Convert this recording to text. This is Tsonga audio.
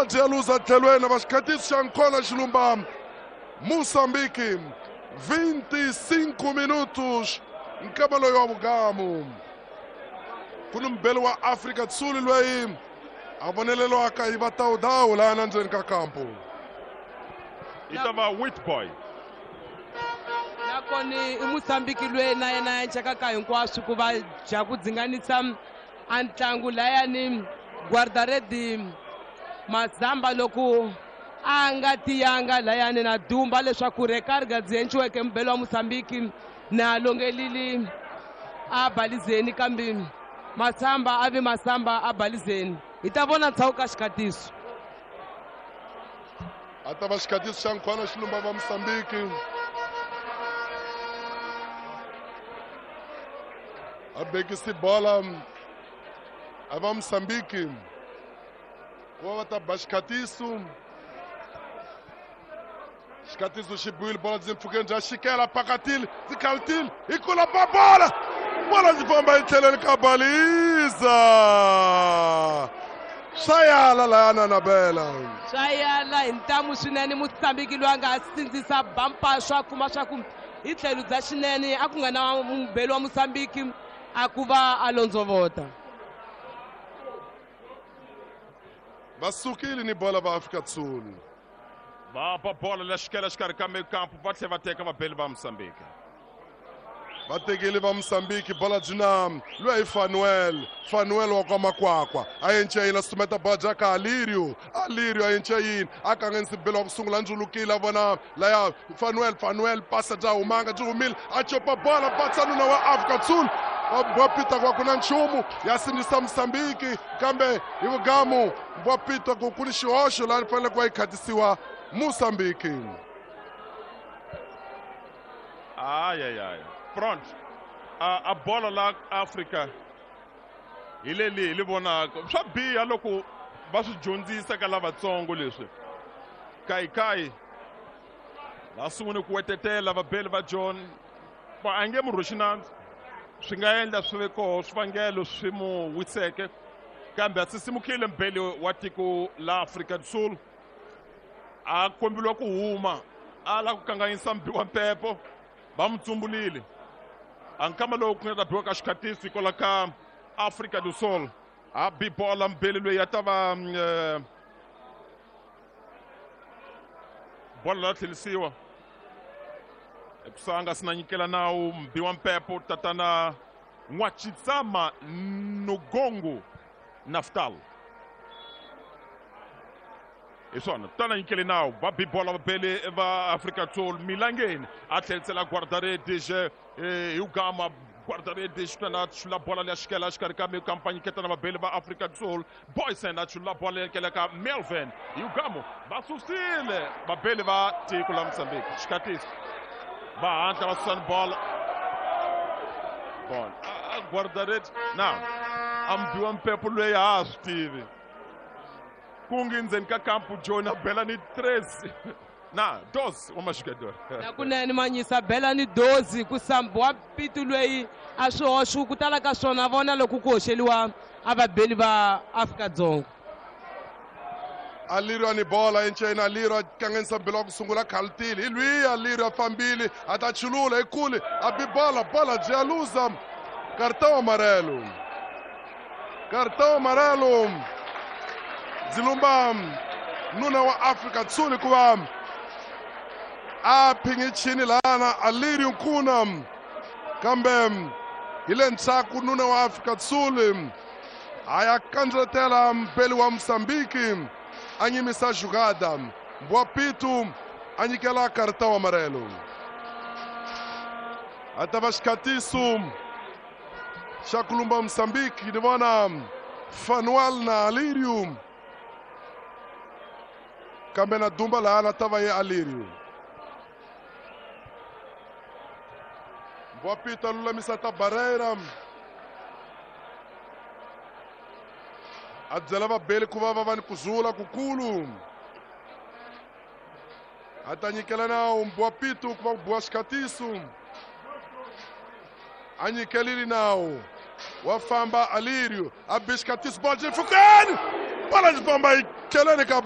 Byi ya luza tlhelweni va xikhatiso xa nkhona xilumba Mozambique 25 minutos nkama loyi wa vugamu ku ni mubeli wa Afrika Tsuli loyi a vonelelwaka hi vatawudawu laha na ndzeni ka kampo i ta va Witboy nakona i Mozambique loyi na yena ya ncakaka hinkwaswo ku va dya ku dzinganisa a ntlangu layani guardaredi Mazamba loko a nga tiyanga layani na dumba leswaku rekarga byi enciweke mubelo wa Mozambique na longelili a balizeni kambe Masamba a vi Masamba a balizeni hi ta vona ntshawu ka xikhatiso a ta va xikhatiso xa nkhwana xilumba va Mozambique a bekisi bola a va Mozambique ku va va ta ba xikhatiso xikhatiso xi biwile bola ndzi mpfhukeni bya xikela pakatile ndzi khalutile hi kula ba bola bola ndzi famba hi tlheleni ka baliza swa yala layana nabela swa yala hi ntamu swinene Mozambique loyi a nga sindzisa bampa swa kuma swa ku hi tlhelo bya xinene a ku nga na mubeli wa Mozambique a ku va a londzovota va sukile ni bola va Afrika Sul va ba bola la xikela xikarhi ka mikampu va tlhela va teka vabeli va Mozambique va tekile va Mozambique bola byi na loyi hi Fanuel Fanuel wa kwa Makwakwa a yence yini a sumeta bola bya ka Alirio Alirio a yence yini a kanganyisa belo wa ku sungula ndzulukile a vona laya Fanuel Fanuel pasa bya humanga byi humile a copa bola patsa nuna wa Afrika Sul wa pita kwa ku na nchumu ya sindzisa Mozambique kambe hi vugamu wa pita ku ku ni xihoxo laha ni fanele ku va yi khatisiwa Mozambique ayayaya front a bola la Afrika hi leli hi li vonaka swa biha loko va swi dyondzisa ka lavatsongo leswi kayikai va sungule ku wetetela vabeli va John va a nge mu rhwexi nandzu swi nga endla swi ve koho swivangelo swi mu wiseke kambe a sisimukile mbeli wa tiko la Afrika do Sul a kombeliwa ku huma a la ku kanganyisa mbi wa mpepo va mu tsumbulile a nkama lowu ku nga ta biwa ka xikhatiso hikwalaho ka Afrika do Sul a bi bola mbeli loyi a ta va bola la tlherisiwa ekusanga sina nyikela nawu mbi wa mpepo tatana N'wachitsama Nugongo Naftal hi swona tana nyikele nawu va bi bola vabeli va Afrika Sul Milangeni a tlherisela guardaredixe hi ugama guardaredixe tana chula bola leya xikela xikarhi ka mikampanyi ketana vabeli va Afrika Sul Boysen a chula bola leya ka Melvin hi ugamo va susile vabeli va tiko la Mozambique xikhatiso va hatla va susani bola bola guardaredi na a mbiwa mpepo loyi a ha swi tivi kungi ndzeni ka kampu John a bela ni 3 na 12 wa maxigador nakunene manyisa bela ni 12 ku sambiwa pitu loyi a swi hoxi ku tala ka swona vona loko ku hoxeliwa a vabeli va Afrika-Dzonga Alirio ni bola enceni Alirio a kanganyisa mbilo wa ku sungula khalutile hi lwiya Alirio a fambile a ta chulula hi kule a bi bola bola byi ya luza cartão amarelo cartão amarelo byi lumba nuna wa Afrika Sul hikuva a phingichini lana Alirio Nkuna kambe hi le ndzhaku nuna wa Afrika Sul a ya kandzetela mbeli wa Mozambique a nyimisa jugada Mbwapitu a nyikela cartão amarelo a ta va xikhatiso xa ku lumba Mozambique ni vona Fanuel na Alirio kambe na dumba lahana ta va ye Alirio Mbwapitu a lulamisa ta Barreira a byela vabeli ku va va va ni ku zula kukulu a ta nyikela nawu Mbwapitu ku va ku biwa xikhatiso a nyikelile nawu wa famba Alirio a bi xikhatiso bola xi pfukeni bola xi famba yi tlheleni ka